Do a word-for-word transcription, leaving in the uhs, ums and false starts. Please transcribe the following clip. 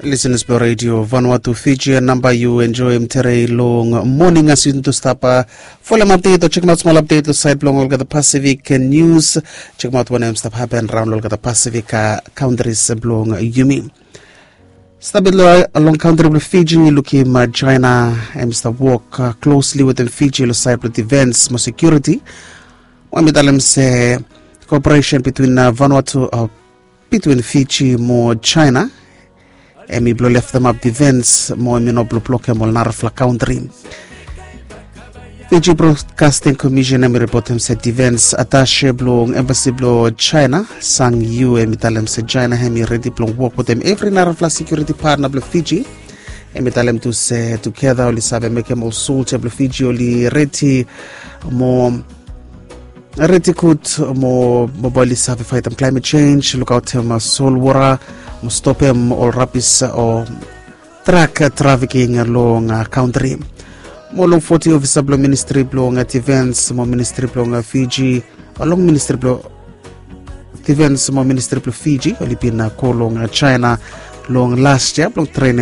Listeners blong Radio Vanuatu Fiji, namba yu enjoim tere long moning as yu tu stap folem update o check out small update lo side blong olgeta Pacific News. Check out wanem stap happen around olgeta Pacific countries blong yumi. Stap lo long country blong Fiji, lukim China em stap work closely wetem Fiji lo side blong defense mo security. Wa mi talem se cooperation between Vanuatu between Fiji mo China em i blong leftemap defense mo em i no blong blokem ol narafala country. Fiji Broadcasting Commission em i ripotem se defense attache blong embassy blong China, Sang Yu, em i talem se China em i redi blong wok wetem evri narafala security partner blong Fiji. Em i talem tu se tugeta oli save mekem ol soldia blong Fiji oli redi mo redi gud mo bae oli save faetem climate change, lukaotem solwota mo stopem ol rabis o drug trafficking long country. Mo long foti ofisa blong ministri blong defense mo ministri blong Fiji, long ministri blong defense mo ministri blong Fiji oli bin go long China long last year blong trening